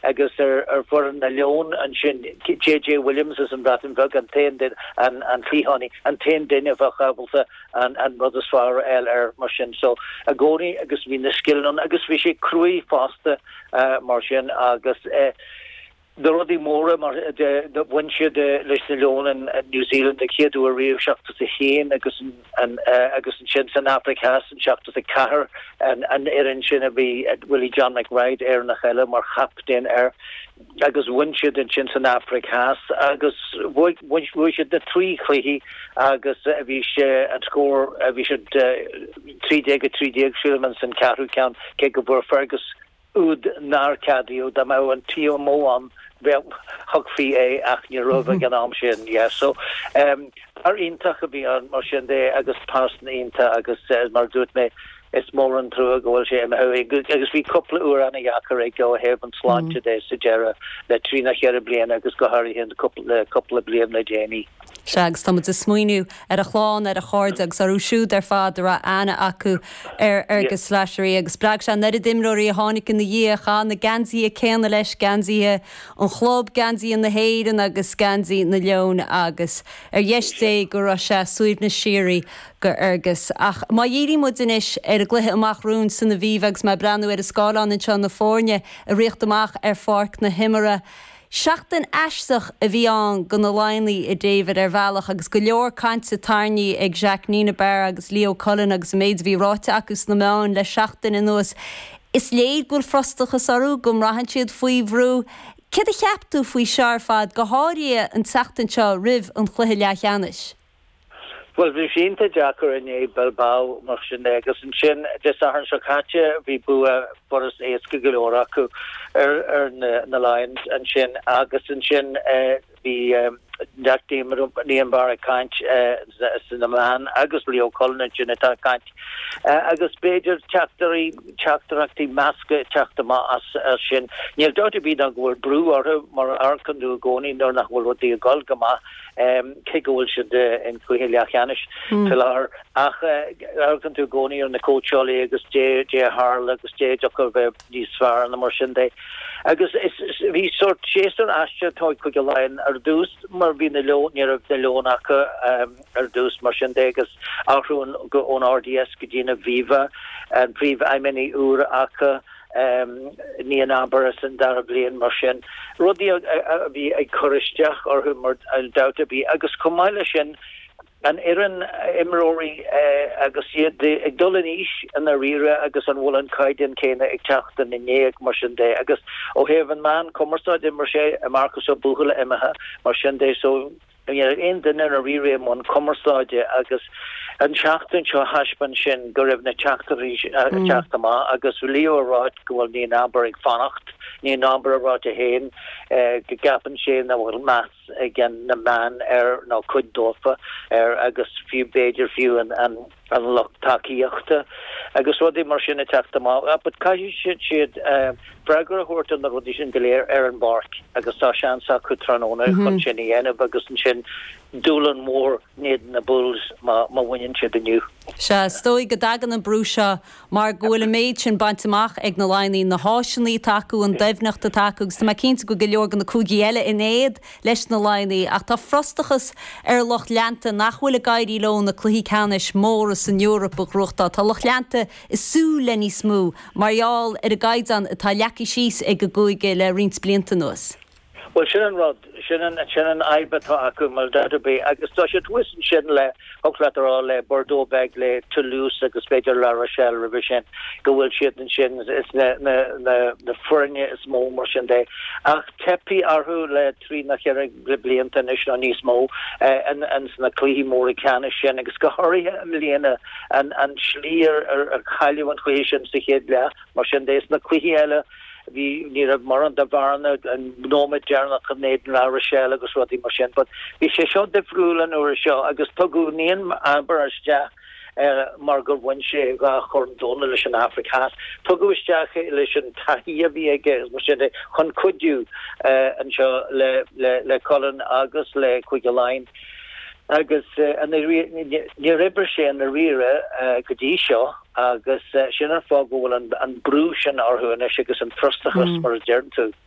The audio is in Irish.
Agus ar foireann na Leon ansin, JJ Williams as an Bhreatain Bheag, an t-aon duine, an cliathánaí, an t-aon duine a bheadh ábalta an rud is fearr a fháil air mar sin. So, i gcónaí agus bhí na scileanna ann agus bhí sé cruaidh fosta mar sin agus eh, Na rudaí móra mar bhain siad leis na Leoin in New Zealand an chéad uair riamh, 71 agus agus ansin san Afraic Theas in 74 an fhoireann sin a bhí Willie John McBride, Éireannach eile, mar chaptaen air agus bhain siad ansin san Afraic Theas agus bhuaigh siad na trí chluichí agus bhí sé an scór bhí siad 13 13 sílim san ceathrú ceann cé go bhfuair Fergus úd nár ceadaíodh, dá mbeadh an TMO ann bheadh, thugfaí é ach ní raibh ag an am sin, yeah. So, em, fear iontach a bhí ann mar sin de agus pearsan iontach agus eh, mar a dúirt mé, is mór an trua go bhfuil sé imithe agus bhí cúpla uair ana-dheacair aige ó thaobh an tsláinte de sa deireadh le trí nó cheithre bliana agus go háirithe le cúpla bliain le déanaí. Sea, agus tá muid ag smaoineamh ar a chlann, ar a chairde agus orthu siúd ar fad a raibh aithne acu ar Fhergus Slattery agus spreag sé an oiread imreoirí a tháinig ina dhiaidh, a chaith na geansaithe céanna leis, geansaithe an chlub, geansaithe na hÉireann agus geansaí na Leon agus ar dheis Dé go raibh sé suaimhneas síoraí go Fhergus. Ach má dhíríonn muid anois ar an gcluiche amach romhainn san Aviva agus mé ag breathnú ar an scáileán anseo na foirne ag ritheacht amach ar pháirc na himeartha, Seachtain aisteach a bhí ann go na Laighnigh, a David, ar bhealach, agus go leor cainte tarraingthe ag Jacques Nienaber agus Leo Cullen agus an méid a bhí ráite acu sna meáin le seachtain anuas. Is léir go bhfuil frustrachas orthu, go mbraitheann siad faoi bhrú. Céard a cheap tú faoi seo ar fad, go háirithe an tseachtain seo roimh an chluiche leathcheannais? Bhuel, bhí sé iontach deacair inné Bilbao mar sin de agus ansin Dé Sathairn seo caite bhí bua furast éasca go leor acu ar ar na Lions ansin agus ansin bhí Jack Nienaber ag caint sna meáin agus Leo Cullen ansin atá ag caint agus b'fhéidir teachtairí teachtaireachtaí measctha ag teacht amach as sin. Níl dabht ar bith ná go bhfuil brú orthu mar a amharcann tú i gcónaí nuair nach bhfuil rudaí ag dul go maith. cé go bhfuil siad in cluiche leathcheannais faoi láthair. Ach amharcann tú i gcónaí ar na cóitseálaí agus dé a tharla agus dé a dtiocfadh a bheith níos fearr nó mar sin de. Agus bhí sórt séasúr aisteach atá ag Cúige Laighean ar dtús mar bhí na Leoin, ní raibh na Leoin acu ar dtús mar sin de agus athrú ón RDS go dtí an Aviva, an príomhfheidhmeannaí úr acu. Nienaber san dara bliain mar sin, rudaí a bhí ag cur isteach orthu mar dabht ar bith agus chomh maith leis sin an fhoireann imreoirí agus iad ag dul in aois i ndáiríre agus an bhfuil an caighdeán céanna ag teacht ina ndiaidh mar sin de agus ó thaobh an meán cumarsáide mar sé Marcus Ó Buachalla imithe mar sin de so Ní raibh aon duine i ndáiríre i mbun cumarsáide agus an tseachtain seo thaispeáin sin go raibh na teachtaireachtaí ag teacht amach agus Leo ag ráit go bhfuil Nienaber ag fanacht, Nienaber ag ráit é féin go gceapann sé nach bhfuil meas ag na meáin air nó cuid dófa air agus fiú b'fhéidir fiú an an lucht tacaíochta agus rudaí mar sin ag teacht amach. But caithfidh siad freagra a thabhairt ar na rudaí sin go léir ar an bpáirc agus tá seans acu tráthnóna chun sin a dhéanamh agus ansin dúshlán mór in éadan na Bulls má bhaineann siad inniu. Sea, is dóigh go dtagann an brú seo mar go bhfuil an méid sin bainte amach ag na Laighnigh, na háiseanna atá acu, an doimhneacht atá acu agus tá mé cinnte go bhfuil go leor de na cúigí eile in éad leis na Laighnigh ach tá frustrachas ar lucht leanta nach bhfuil ag éirí leo na cluichí ceannais móra san Eoraip a ghnóthachtáil. Tá lucht leanta ag súil le níos mó mar gheall ar an gcaighdeán atá leagtha síos ag an gcúige le roinnt blianta anuas. Bhuel, sin an rud, sin an, sin an fhadhb atá acu, mar dabht ar bith, agus tá siad thuas ansin le, thiocfadh leat a rá, le Bordeaux beag, le Toulouse agus b'fhéidir La Rochelle roimhe sin, go bhfuil siad ansin, is na, na, na, na foirne is mó mar sin de. Ach teipthe orthu le trí nó ceithre blianta anois nó níos mó, in, in sna cluichí móra ceannais sin agus go háirithe i mbliana, an, an slí ar, ar, ar cailleadh an cluiche sin sa chéad leath, mar sin de, sna cluichí eile, Bhí, ní raibh mórán de bhearna, an nóiméad deireanach in éadan La Rochelle agus rudaí mar sin but bhí sé seo difriúil an uair seo agus tugadh Nienaber isteach mar gur bhain sé dhá chorn domhanda leis an Afraic Theas. Tugadh isteach é leis an taithí a bhí aige agus mar sin de chun cuidiú anseo le le Cullen agus le Cúige Laighean agus níor oibrigh sé i ndáiríre go dtí seo. Agus sin an fáth go bhfuil an brú sin orthu anois agus an frustrachas, mar a deireann tú.